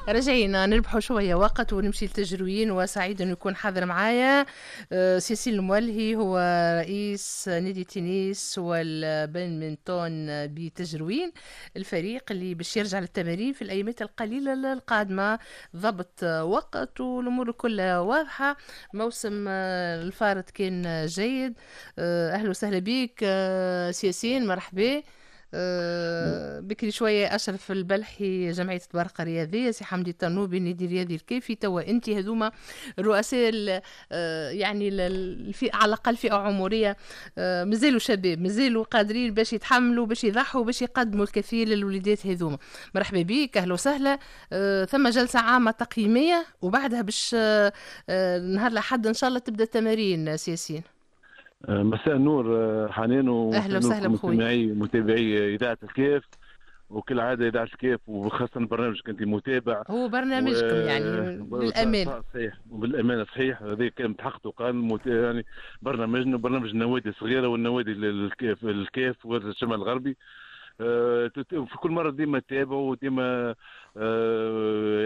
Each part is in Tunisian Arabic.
رجعينا نربحوا شوية وقت ونمشي لتجروين، وسعيد انه يكون حاضر معايا سي ياسين المولهي، هو رئيس نادي تنس والبادمنتون بتجروين، الفريق اللي باش يرجع للتمارين في الايامات القليلة القادمه. ضبط وقت والامور كلها واضحه. موسم الفارط كان جيد. اهلا وسهلا بك سي ياسين، مرحبا. بكري شوية أشرف البلحي، جمعية طبرقة الرياضية، سي حمدي الطنوبي، النادي الرياضي الكافي. توا أنت هذوما الرؤساء، يعني الفئة على الأقل فئة عمرية مازالوا شباب، مازالوا قادرين باش يتحملوا، باش يضحوا، باش يقدموا الكثير للوليدات هذوما. مرحبا بك، أهلا وسهلا. ثم جلسة عامة تقييمية وبعدها باش نهار الأحد إن شاء الله تبدأ التمارين سي ياسين. مساء النور حنان. اهلا وسهلا بخوي. متابعي اذاعة الكاف، وكالعادة اذاعة الكاف وخاصة برنامجك انت متابع. هو برنامجكم يعني بالامانه. صحيح، وبالامانه صحيح، هذا كان تحقق وقال يعني برنامجنا برنامج النوادي الصغيرة والنوادي الكاف والشمال الغربي. في كل مرة ديما تتابعوا وديما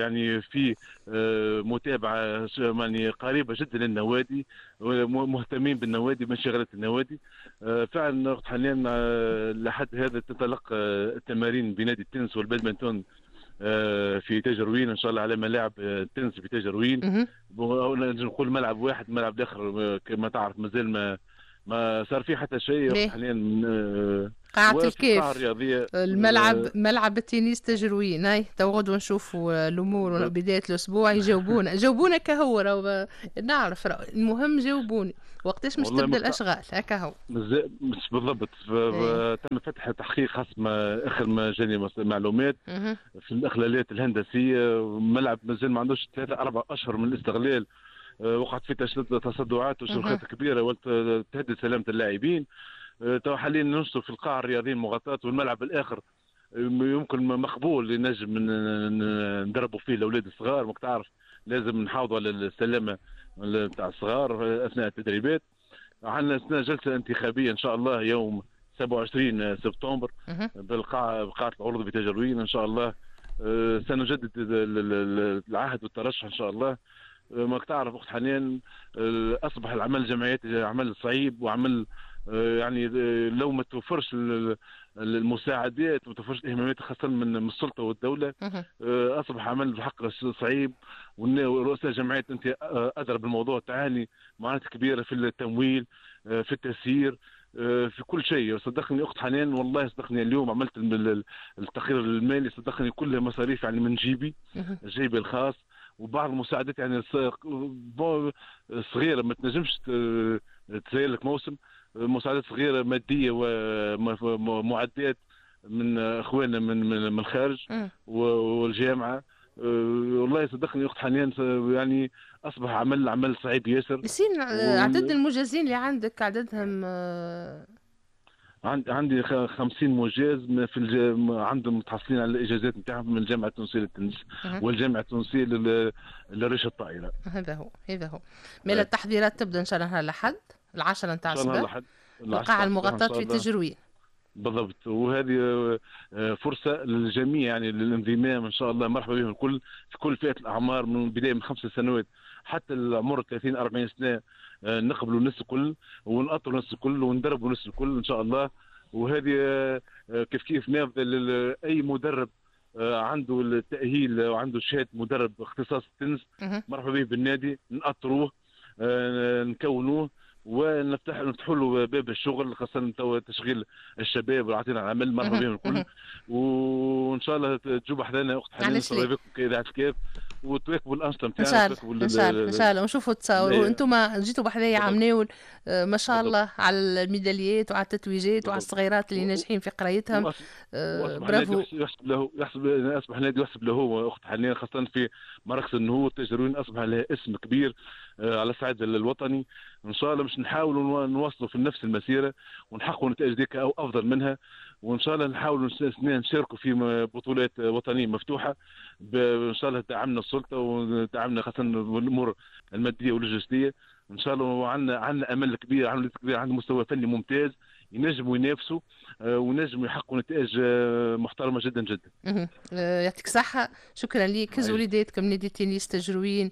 يعني في متابعه يعني قريبه جدا للنوادي، مهتمين بالنوادي، بانشغالات النوادي. فعلا حاليا لحد هذا تنطلق التمارين بنادي التنس والبادمنتون في تاجروين ان شاء الله، على ملاعب التنس في تاجروين. نقول ملعب واحد، ملعب الاخر كما تعرف مازال ما صار فيه حتى شيء حاليا. قاعة الكاف، الملعب ملعب التنس تجروين. هاي تو غدوة نشوفوا الامور بداية الاسبوع. يجاوبونا، جاوبونا كهو، راهو نعرف، المهم جاوبوني وقتاش مش تبدا الاشغال هكا هو. مش بالضبط. تم فتح تحقيق خاص ما اخر ما جاني معلومات في الاخلالات الهندسيه. ملعب مازال ما عندوش 3-4 اشهر من الاستغلال، وقعت فيه تصدعات وشروخات كبيرة وتهدد سلامه اللاعبين. تو حاليا ننشطوا في القاعة الرياضية المغطاه، والملعب الاخر يمكن مقبول نجم ندربوا فيه الاولاد الصغار. ماك تعرف لازم نحافظوا على السلامة نتاع الصغار اثناء التدريبات. عندنا جلسه انتخابية ان شاء الله يوم 27 سبتمبر بالقاعه، بقاعه العروض بتجروين. ان شاء الله سنجدد العهد والترشح ان شاء الله. ما تعرف اخت حنان، اصبح العمل الجمعياتي عمل صعيب وعمل يعني لو ما توفرش المساعدات وما توفرش الاهتمامات خاصة من السلطة والدوله، اصبح عمل بحق صعيب. ورؤساء الجمعيات، انت ادرى بالموضوع، تعاني معاناة كبيرة في التمويل، في التسيير، في كل شيء. صدقني اخت حنان، والله صدقني اليوم عملت التقرير المالي، صدقني كلها مصاريف يعني من جيبي، جيبي الخاص، وبعض المساعدات يعني صغيرة ما تنجمش تسير لك موسم. مساعدات صغيرة مادية ومعدات من اخواننا من الخارج والجامعه. والله صدقني اخت حنان، يعني اصبح عمل صعيب ياسر. ياسين، عدد المجازين اللي عندك عددهم؟ عندي 50 مجاز عندهم متحصلين على الاجازات نتاعهم من الجامعة التونسية للتنس والجامعة التونسية للريشه الطائره. هذا هو، هذا هو. مالا التحضيرات تبدا ان شاء الله نهار الاحد 10 نتاع الصباح، القاعة المغطاة في تجروين. بالضبط، وهذه فرصة للجميع يعني للانضمام ان شاء الله. مرحبا بهم الكل في كل فئات الاعمار، من بداية من 5 سنوات حتى العمر 30 40 سنه. نقبلوا الناس الكل ونأطروا الناس الكل وندربوا الناس الكل ان شاء الله. وهذه كيف كيف نافذة لاي مدرب عنده التاهيل وعنده شهادة مدرب اختصاص التنس. مرحبا به بالنادي، نأطروه، نكونوه ونفتح له باب الشغل، خاصة تو تشغيل الشباب وعطينا العمل. مرحبا بهم الكل، وان شاء الله تجوا بحذانا اخت حنان علاش؟ كاذاعه الكاف وتواكبوا الانشطة نتاعنا. ان شاء الله، ان شاء الله، ان شاء الله ونشوفوا تصاور. وانتم جيتوا بحذايا عام ناول، ما شاء الله على الميداليات وعلى التتويجات وعلى الصغيرات اللي ناجحين في قرايتهم. برافو. يحسب له، يحسب، اصبح نادي يحسب له اخت حنان، خاصة في مراكز النهوض. تاجروين اصبح لها اسم كبير على الصعيد الوطني. ان شاء الله باش نحاولوا نواصلوا في نفس المسيرة ونحققوا نتائج ديك او افضل منها، وان شاء الله نحاولوا نشاركوا في بطولات وطنية مفتوحه. ان شاء الله دعمنا السلطة ودعمنا خاصة بالامور المادية واللوجستيه ان شاء الله. وعندنا امل كبير، عندنا كبير، عندنا مستوى فني ممتاز ينجموا ينافسوا. ونجموا يحققوا نتائج محترمه جدا جدا. يعطيك صحة، شكرا ليك. هزوا وليداتكم نادي تنس تجروين،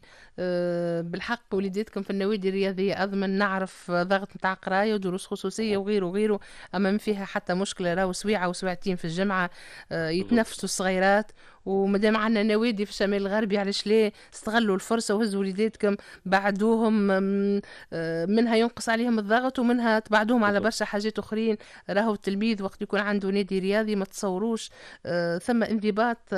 بالحق وليداتكم في النوادي الرياضية أضمن. نعرف ضغط نتاع قراية ودروس خصوصية وغيره وغيره، أما ما فيها حتى مشكلة، راهو سويعة وسويعتين في الجمعة يتنفسوا الصغيرات، ومادام عندنا نوادي في الشمال الغربي علاش لا؟ استغلوا الفرصة وهزوا وليداتكم، بعدوهم، منها ينقص عليهم الضغط ومنها تبعدوهم على برشا حاجات اخرين. راهو التلميذ وقت يكون عنده نادي رياضي ما تصوروش ثم انضباط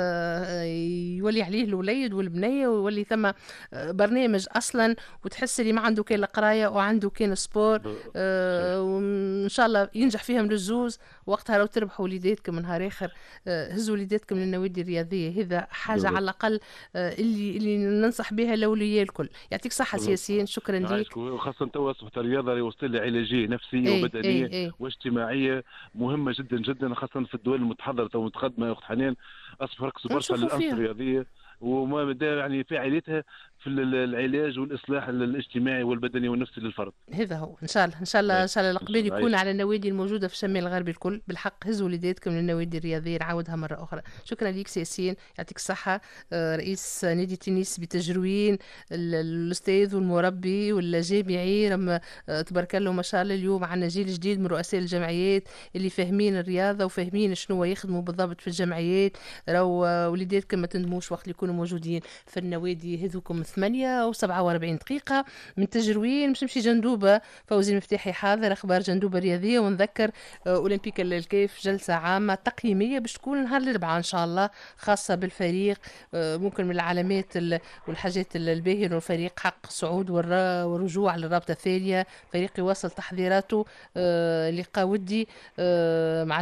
يولي عليه الوليد والبنية، ويولي ثم برنامج اصلا، وتحس اللي ما عنده كان القراية وعنده كان sport، وان شاء الله ينجح فيهم للزوز. وقتها لو تربحوا وليداتكم نهار اخر. هزوا وليداتكم للنوادي الرياضيه، هذا حاجة على الاقل اللي ننصح بها الاولياء الكل. يعطيك صحة سي ياسين، شكرا لك. وخاصة توا اصبحت الرياضة وسيلة علاجية نفسية وبدنيه واجتماعية مهمة جدا جدا، خاصة في الدول المتحضره والمتقدمه يا اخت حنان، اصبح ركزوا برشا على الانشطة الرياضية وما يعني فاعليتها في العلاج والاصلاح الاجتماعي والبدني والنفسي للفرد. هذا هو، ان شاء الله ان شاء الله ان شاء الله الاقبال يكون على النوادي الموجودة في الشمال الغربي الكل. بالحق هزوا وليداتكم للنوادي الرياضيه، نعاودها مرة اخرى. شكرا لك سي ياسين، يعطيك الصحه، رئيس نادي تنس بتجروين، الاستاذ والمربي والجامعي. رم تبارك الله ما شاء الله، اليوم عندنا جيل جديد من رؤساء الجمعيات اللي فاهمين الرياضة وفاهمين شنو يخدموا بالضبط في الجمعيات. راهو وليداتكم ما تندموش وقت اللي يكونوا موجودين في النوادي هذوكم. 8:47 من تجروين باش نمشي جندوبة، فوزي المفتاحي حاضر، أخبار جندوبة الرياضية. ونذكر أولمبيك الكيف جلسة عامة تقييمية باش تكون نهار الأربعاء إن شاء الله، خاصة بالفريق. ممكن من العلامات والحاجات الباهية إنه الفريق حقق صعود والرجوع للرابطة الثانية، فريق يواصل تحضيراته، لقاء ودي مع